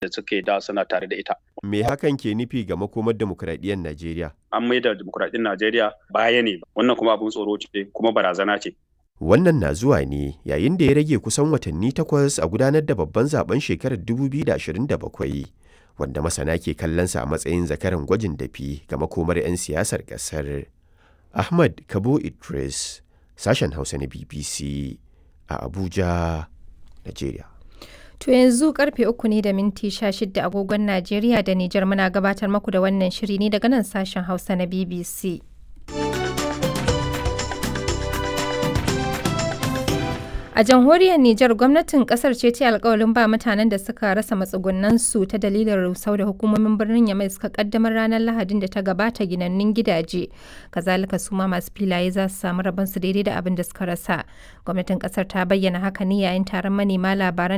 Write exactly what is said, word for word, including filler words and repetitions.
Da suke da suna tare da ita. Me hakan ke nufi ga makomar demokuraɗiyyar Najeriya? An maida demokuraɗiyyar Najeriya baya ne, wannan kuma abin tsoro ce kuma barazana ce. Wannan na zuwa ne yayin da ya rage kusan watanni takwas a gudanar da babban zaben shekarar dubu biyu da ashirin da bakwai, wanda masana ke kallonsa a matsayin zakaran gwajin dafi ga makomar 'yan siyasar ƙasar. Ahmad Kabo Idris, sashen Hausa na B B C a Abuja, Najeriya. To yanzu karfe uku ne da minti sha shida agogon Najeriya da Nijar. Muna gabatar maku da wannan shiri ne daga nan sashen Hausa na B B C. A jamhuriyar Nijar, gwamnatin kasar ce ta alkawalin ba mutanen da suka rasa matsugunansu ta dalilin rusau da hukumomin birnin Yamai suka kaddamar ranar Lahadin da ta gabata ginannun gidaje. Kazalika su ma masu filaye za su samu rabonsu daidai da abin da suka rasa. Gwamnatin kasar ta bayyana haka ne yayin taron manema labaran